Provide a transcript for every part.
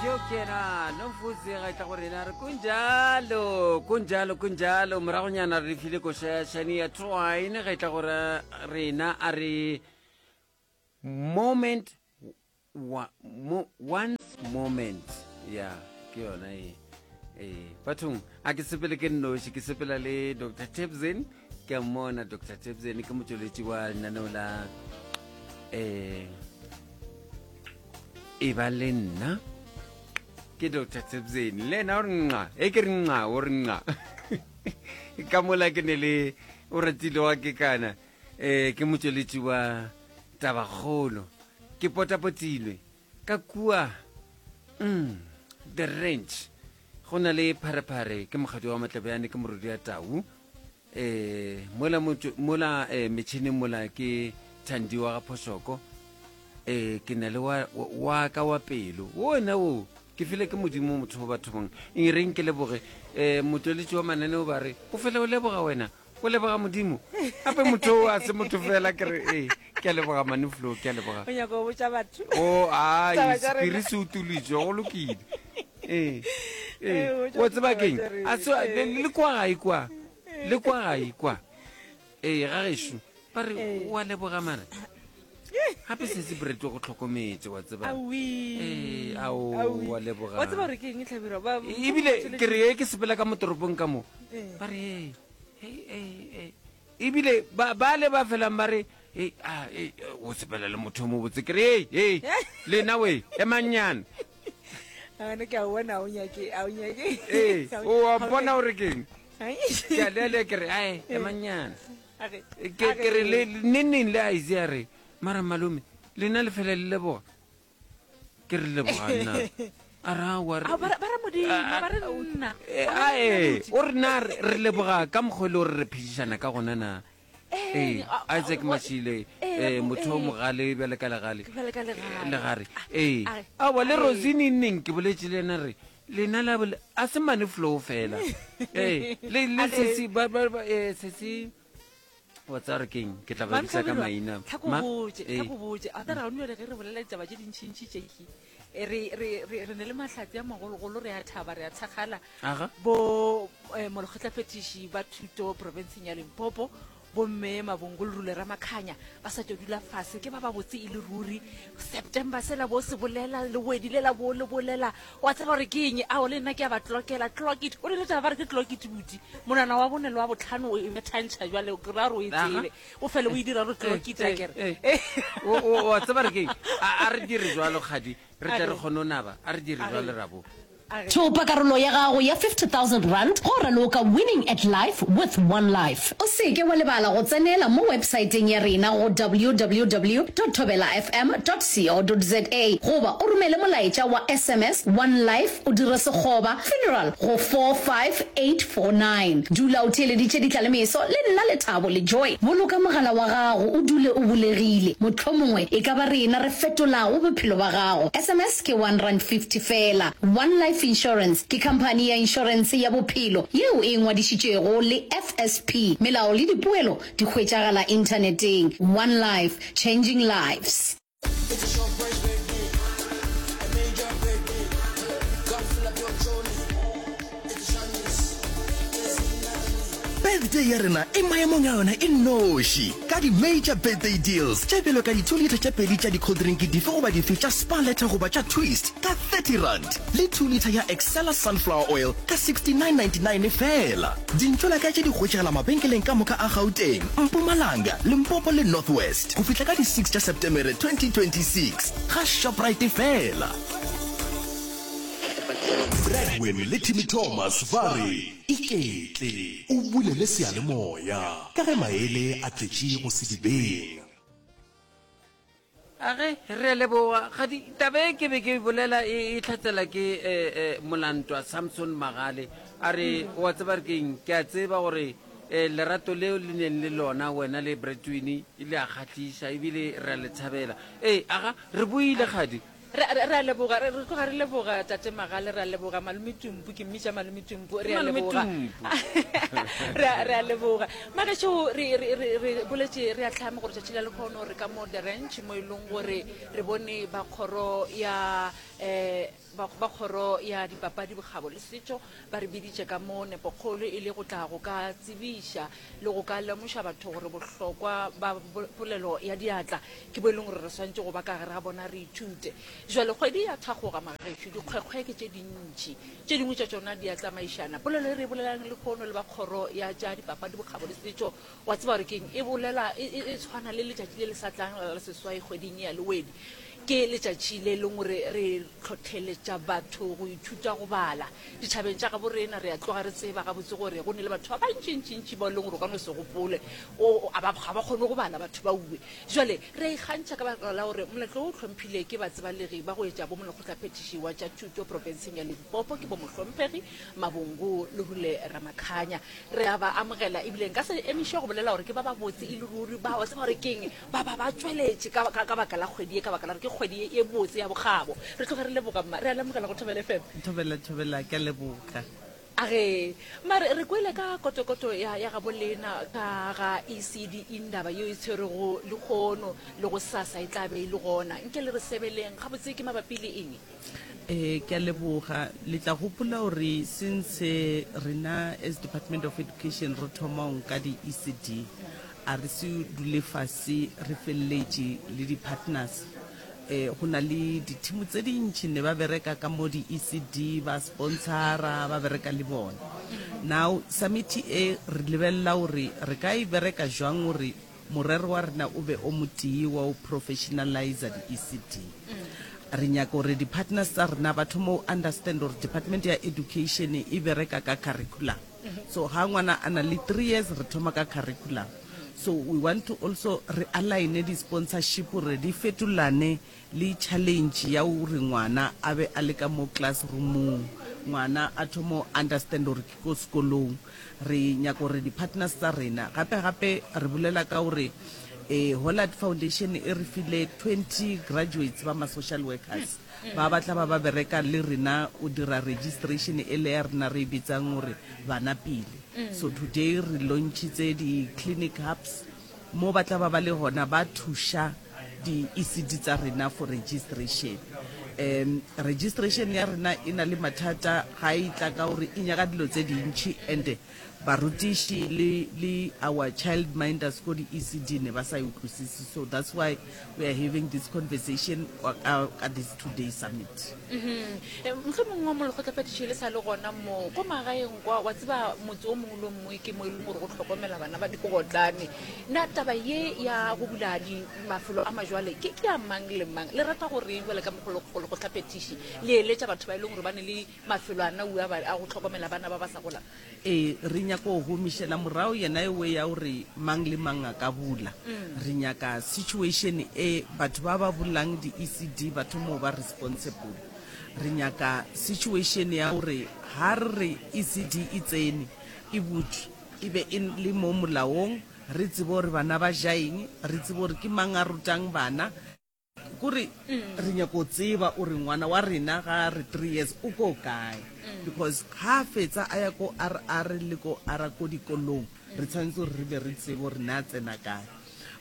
Yo ke yena Nomfusi ga tla go rena re kunjalo kunjalo kunjalo moragonyana re file koša ya Shania Twain ga tla go rena a re moment wa, mo, once moment ya ke yona e ee bathong a ke sepele ke nnoši ke sepela le dr tebsen ke a mmona dr tebsen ke motšweletši wa lenaneo la um e ba le nna ke dr tebsen le ena o re nqa e ke re nqa o re nqa ka mola ke ne le o ratile wa ke kana um ke motšweletši wa tabakgolo ke potapotilwe ka kua mm, the ranch go na le pharephare ke mokgadi wa matlebjane ke morodi ya tau eh mola mola eh, metšhineng mola ke thandi wa ga phošoko eh ke na le wa wa ka wa pelo wona wo ke file ke modimo motho wa batho bang e reng ke leboge eh motweletši wa mananeo ba re o fele o leboga wena o leboga modimo gape motho o a se motho fela ke re ee ke a leboga manuflo ke a leboga o nyaka go botša batho o ai Taba tša rena. sephiri se utolitšwe go lokile ee Ee, ee botša o tseba ditaba keng tša rena. a se Ee. le le kwa gae kwa le kwa gae kwa ee ga gešo ba re Ee. o a leboga mara gape se se breto go tlhokometse wa tseba Aowi. Ee, ao, Aowi. wa leboga. wa tseba gore ke eng tlhabirwa Ba- ebile ke re e ke sepela ka mo toropong ka mo Ee. ba re ee ebile ba ba le ba felang ba re "Ei, ah, ei, o sepela le motho o mobotse ke re ei ei lena we emanyana Gane ke a bona, a o nyake, a o nyake. ee o a bona gore keng Ai. ke a lele ke re ae emanyana A re- ke a ke re le neng neng le a itse a re mara malome lena le fela le leboga ke re leboga nna a re aowa re- Ao, ba re- ba re Modimo, ba re nna. Eh, Ba re ae nna, buti. o re na re re leboga ka mokgwa e le gore re phedišana ka gona na Eh, ee a- a- isaac wa- mashile eh, um motho o eh. mogale bjale ka legale Bjale ka legare. legare ee a- aowa le a- rosine neng ke boletše le ena re lena la bole a se mane flow fela ee le le A re- sesi ba ba ba- eh, sesi wa tsaya gore keng ke tla ba bitsa ka maina tlhako Ma- botse ee. tlhako botse a tara gone jale ge re bolela ditaba tše dintšhintšhi tšeki eh, re re re re ne le mahlatse a magologolo re a thaba re a thakgala Aga. bo eh, molekgotlaphethiši ba thuto profenseng ya limpopo bomme mabongolorule ramakhanya ba sa tšo dula fase ke ba ba botse e le ruri september sela bo se bolela lewedi lela bo le bolela Wa tseba gore ke eng? Ao, le nna ke a ba tlokela. Clock it. O rile taba ba re ke clock it, buti. Monwana wa bone le wa botlhano o e bethantšha jwale, ke ra gore o e tsebe. O fele o e dira gore clock it, akere. O, o, wa tseba re ke eng? A, a re dire jwalo, kgadi, re tle re kgone go naba. A re dire jwalo, Rabo. Thopa karolo ya gago ya R50,000 go raloka Winning at Life with One Life. O se ke wa lebala go tsenela mo websaeteng ya rena go www dot thobelafm dot co dot za goba o romele molaetša wa sms One Life o dire sekgoba funeral go 45849. Dula o theeleditše ditlalemeso le nna Lethabo le Joy. Boloka mogala wa gago o dule o bulegile, mohlomongwe e ka ba rena re fetolago bophelo ba gago. Sms ke R1.50 feela. One Life Insurance ke khamphani ya inšorense ya bophelo yeo e ngwadišitšwego le FSP. Melao le dipoelo di hwetšagala inthaneteng. One Life, changing lives. Birthday ya rena e maemong a yona e nnoši ka di-major birthday deals tše bjalo ka di-2 litre tše pedi tša di-cold drink dife goba dife tša Sparletta goba tša Twist ka R30 le 2 litre ya Excella sunflower oil ka R69.99 feela. Dintšolaka tše di hwetšagala mabenkeleng ka moka a Gauteng, Mpumalanga, Limpopo le North West go fihla ka di 6 tša Setemere 2026 ga Shoprite feela. Bradwin le Timmy Thomas ba re iketle o bulele seyalemoya ka ge maele a tletše go sedibeng. A ge, re a leboga. Kgadi, taba e ke be ke e bolela e, e hlatsela ke eh, eh, Molantwa Samson Magale. A re, o a tseba re keng, ke a tseba gore eh, lerato leo le neng le lona wena le Bretwini le a kgahliša ebile re a le thabela. Ee, aga, re boile kgadi. Re, re, re a leboga, re, re tloga re leboga Tate Magale, re a leboga Malome Tumpu, ke mmitša Malome Tumpu, re a Malome leboga. Tumpu. Re a, re a leboga. Magešo, re, re, re, re boletše re a hlama gore tšatši la lekhono re ka mo The Ranch mo e leng gore re bone ba kgoro ya. Um Ba, ba Kgoro ya Dipapadi, Bokgabo le Setšo ba re biditše ka mo nepokgolo e le go tla go ka tsebiša le go ka lemoša batho gore bohlokwa ba polelo ya diatla ke bo e leng gore re swanetše go ba ka gare ga bona re ithute. Jwale kgwedi ya thakgoga magešo, dikgwekgwe ke tše dintši, tše dingwe tša tšona di a tsamaišana. Polelo e re e bolelang lehono le ba Kgoro ya tša Dipapadi, Bokgabo le Setšo, wa tseba gore ke'ng? E bolela, e, e, e tshwana le letšatši le le sa tlang la la seswai kgweding ye ya Lewedi. Ke letšatši le leng gore re hlohleletša batho go ithuta go bala. Ditšhabeng tša gabo rena re a tloga re tseba gabotse gore go ne le batho ba bantšintšintši bao e leng gore o ka no se gopole o, a ba, ga ba kgone go bala batho ba uwe. Jwale re a ikgantšha ka baka la gore moletlo wo o hlomphile ke batsebalegi ba go etša bo molekgotlaphethiši wa tša thuto profenseng ya Limpopo ke bo Mohlomphegi Mabongo Lerule Ramakhanya. Re a ba amogela ebile nka se emiše go bolela gore ke ba babotse e le ruri ba, wa tseba gore ke'ng, Ba ba ba tšweletše ka, ka, ka baka la kgwedi ye, ka baka la gore ke kgwedi ye, ye botse ya bokgabo. Re tloge re leboga, mma. Re a lemogela go Thobela FM. Thobela, Thobela, ke a leboga. A ge, mma, re, re kwele ka kotokoto ya, ya gabo lena ka ga ECD Indaba yeo e tshwerego lehono le gosasa e tla be e le gona. Nke le re sebeleng gabotse ke mabapi le eng? Ee, ke a leboga. Le tla gopola gore since rena as Department of Education re thoma go nka di-ECD, a re se dule fase re feleletše le di-partners. Um go na le di-team tse dintši ne ba bereka ka mo di-ECD, ba sponsora, ba bereka le bona. Now summit e re lebelela gore re ka e bereka jwang gore Morero wa rena o be o motee wa go professionalizer di-ECD. Re nyaka gore di-partners tsa rena ba thome go understand gore Department ya Education e bereka ka curriculum. So ga ngwana a na le three years re thoma ka curriculum. So we want to also re align di-sponsorship gore di fetolane le challenge ya gore ngwana a be a le ka mo classroomong, ngwana a thome go understand gore ke ko sekolong. Re nyaka gore di-partners tsa rena, gape gape re bolela ka gore eh, Hollard Foundation e re file 20 graduates ba ma-social workers ba ba tla ba ba bereka le rena o dira registration e le ya rena re e bitsang gore bana pele. So today re launchitse di-clinic hubs mo ba tla ba ba le gona ba thuša di-ECD tsa rena for registration. Um registration ya rena e na le mathata ga e tla ka gore e nyaka dilo tse dintši and barutiši le, le our child minders ko di-ECD ne ba sa e utlwisise so that's why we are having this conversation ka, ka this two day summit. Mhm. Mohlomongwe molekgotlaphethiši le sa le gona mo ko magaeng kwa, wa tseba motse o mongwe le o mongwe ke mo e leng gore go hlokomela bana ba digotlane. Na taba ye ya go bula di mafelo a majwale ke ke ya mang le mang? Le rata go reng bjale ka molekgotlaphethiši le eletša batho ba e leng gore ba ne le mafelo ana ua ba a go hlokomela bana ba ba sa golang? Ee, re nyaka go gomišela morago yena ewe ya gore mang le mang a ka bula. Re nyaka situation e batho ba ba bulang di-ECD ba thoma go ba responsible. Re nyaka situation ya gore ga re re ECD e tsene, e butšwe, e be e le mo molaong, re tsebe gore bana ba ja eng, re tsebe gore ke mang a rutang bana. Kore re nyaka go tseba ore ngwana wa rena ga a re three years o ko kae because ga a fetsa a ya ko RR le ko R ko dikolong re tshwanetse gore re be re tsebe gore ne a tsena kae.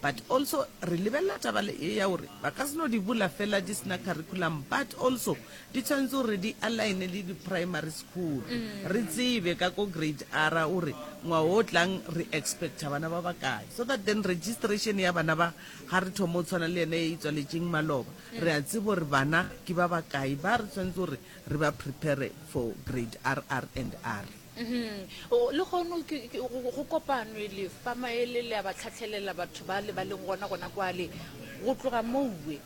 But also re lebelela taba le e ya gore ba ka se no di bula fela di sena curriculum but also di tshwanetse gore di align le di primary school. Re tsebe ka ko grade R gore ngwaga o tlang re expecta bana ba bakae so that then registration ya bana ba Ga re thoma o tshwana le yena e itswaletšeng maloba, re a tseba gore bana ke ba bakae ba re tshwanetse gore re ba prepare for grade RR and R. Lehono ke, ke, go, go kopanwe le fa maele le a ba tlhahlelela batho ba le ba leng gona gona kwale. Go tloga mouwe,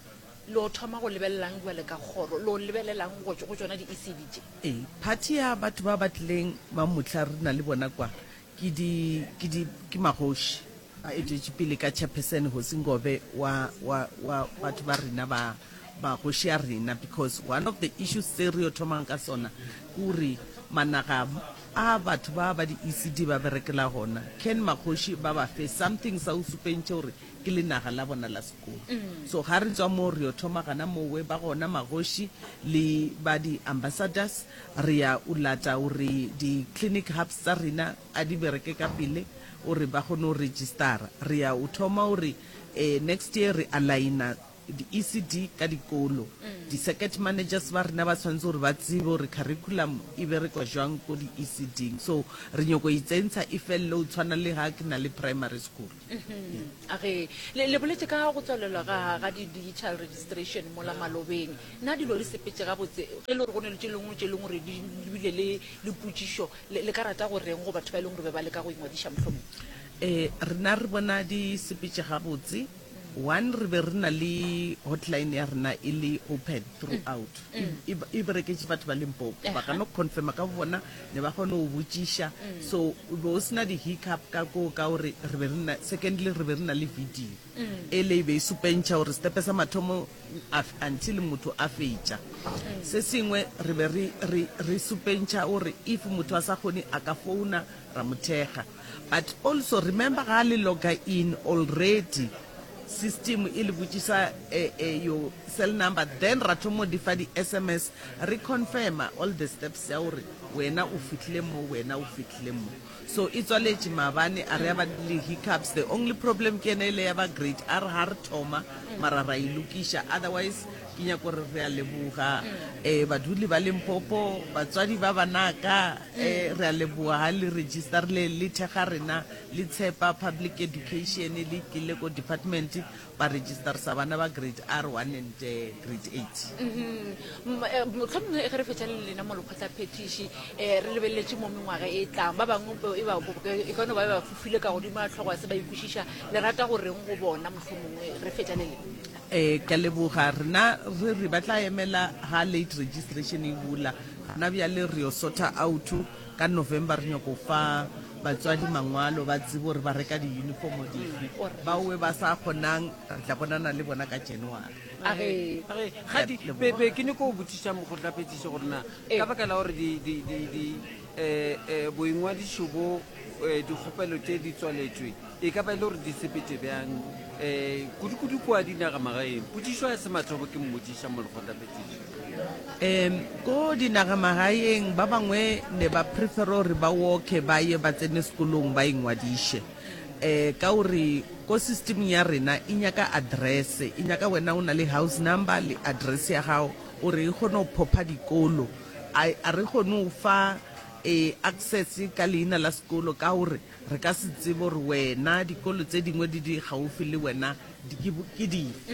lo thoma go lebelelang bjale ka kgoro, lo lebelelang go, go tšona di-ECD tše? Ee, party ya batho ba ba tlileng ba mohla re na le bona kwa, ke di, ke di, ke magoši. Ba etetše pele ka Chairperson Hosi Ngobe wa, wa, wa batho ba rena ba, ba kgoši ya rena because one of the issues tse re yo thomang ka sona ke gore managa a batho ba ba di-ECD ba berekela gona can makgoši ba ba fe something sa go supentšhe gore ke lenaga la bona la sekolo. So ga re tswa moo re yo thoma gana mowe ba gona magoši le ba di-ambassadors re ya o lata gore di-clinic hubs tsa rena a di bereke ka pele gore ba kgone go registera. Re ya o thoma gore next year re aligner. di-ECD ka dikolo. Di-circuit managers ba rena ba tshwanetse gore ba tsebe gore curriculum e berekwa jwang ko di-ECD-ing. So re nyoko e tsentsha e felele go tshwana le ga ke na le primary school. A ge le, le boletše ka go tswalelwa ga, ga di-digital registration mola malobeng. Na dilo di sepetše gabotse? Ge e le gore go ne le tše lengwe tše e leng gore di bile le, le potšišo, le, le ka rata go reng go batho ba e leng gore be ba leka go ingwadiša mohlomong? Ee, rena re bona di sepetše gabotse. One, re be re na le hotline ya rena e le open throughout. E, e, e bereketše batho ba Limpopo. Ba ka no confirma ka bobona, ne ba kgone go botšiša. So, o be o se na di-hiccup ka koo ka gore re be re na, secondly, re be re na le video. Ele e be e supentšha gore setepe sa mathomo a, until motho a fetša. Se sengwe re be re, re, re supentšha gore if motho a sa kgone a ka founa ra mo thekga. But also remember ga le logger in already system e le botšisa your cell number then ra thomo di fa di sms re confirma all the steps ya gore wena o fihlile mo wena o fihlile mo. So e tswaletše maabane a re ya ba le hiccups the only problem ke yena ele ya ba grade R ga re thoma mara ra e lokiša otherwise Ke nyaka gore re a leboga um baduli ba Limpopo, batswadi ba banaka, um re a leboga ga le register le le thekga rena, le tshepa public education, le tlile ko department ba registersa bana ba grade R one and grade 8. Mohlomongwe ge re fetša le lena mo lekgotlaphethiši um re lebeleletše mo mengwaga e tlang, ba bangwe e ba e ka no ba ba fofile ka godimo ga hlogo ya se ba ikwešiša, le rata go reng go bona mohlomongwe re fetša le lena? Ee, ke a leboga. Rena re re ba tla emela ga late registration e bula. Gona bjale re yo sorta out ka November re nyako fa batswadi mangwalo ba tsebe gore ba reka di-uniform dife. Baowe ba sa kgonang re tla bonana le bona ka January. Age. Age, Kgadi, be, be ke nyako go botšiša mokgotlaphethiši gore na ka baka la gore di, di, di, di, eh, eh, boingwadišo bo, eh, dikgopelo tše di tswaletšwe, E ka ba e le gore di sepetše bjang, um kudu-kudu kua dinagamagaeng? Potšišo ya semathomo ke mmotšiša molekgotlaphethiši. Um ko dinagamagaeng ba bangwe ne ba prefera gore ba walke ba ye ba tsene sekolong ba ingwadiše um ka gore ko systemeng ya rena e nyaka address, e nyaka wena o na le house number le address ya gago gore e kgone go phopha dikolo. A a re kgone go fa access ka leina la sekolo ka gore Re ka se tsebe gore wena dikolo tse dingwe di di gaufi le wena di ke, ke dife.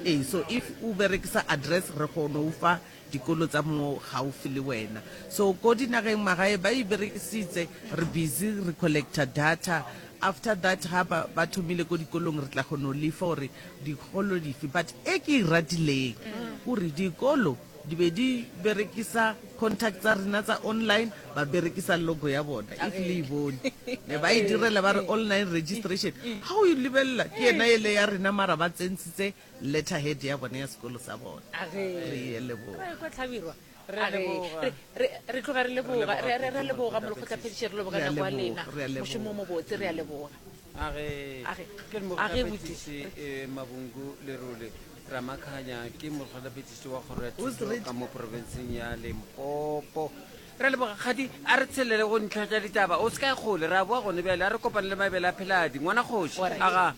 Ee, so if o berekisa address re kgono o fa dikolo tsa mo gaufi le wena. So ko dinageng magae ba e berekisitse, re busy re collecta data. After that ga ba, ba thomile ko dikolong re tla kgono lefa gore dikolo dife. But e ke e ratileng kore dikolo Di be di berekisa contact tsa rena tsa online, ba berekisa logo ya bona, if le e bone. Ne ba e direla ba re online registration. Ha o e lebelela, ke yena ele ya rena mara ba tsentshitse letterhead ya bona ya sekolo sa bona. Re e leboga. Re kwa Hlabirwa. Re a leboga. Re, re, re tloga re leboga. Re Re, re, re a leboga leboga molekgotlaphethiši, re leboga Re a nako ya leboga, lena. re a leboga. Mošomo o mobotse, re a leboga. A ge, A ge, ke a ge molekgotlaphethiši buti. eh, Mabungu Lerole. Ramakhanya ke mokgotlaphethiši wa kgoro ya thuto ka mo profenseng ya Limpopo. Re a leboga Kgadi, a re tshelele go ntlha tša ditaba. O se ka ya kgole, re a boa gone bjale. A re kopane le Mabele a Pheladi, ngwana kgoši. Aga.